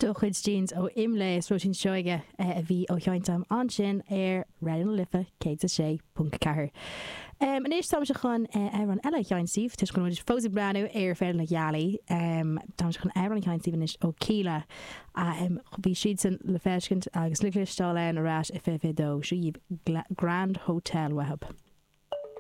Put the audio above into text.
Do Chuid Jeans ó Imlé is Róisín Seoige a bhí á sheinnt agam ansin ar Raidió na Life 106.4. Anois táimse chun amhrán eile a sheinnt daoibh, toisc go bhfuil muid fós ag breathnú ar Féile na Gealaí. Táimse chun amhrán a sheinnt daoibh anois ó Kíla. Bhí siadsan le feiscint agus le cloisteáil ann ar ais i 2022. Seo dhaoibh Grand Hotel uathu.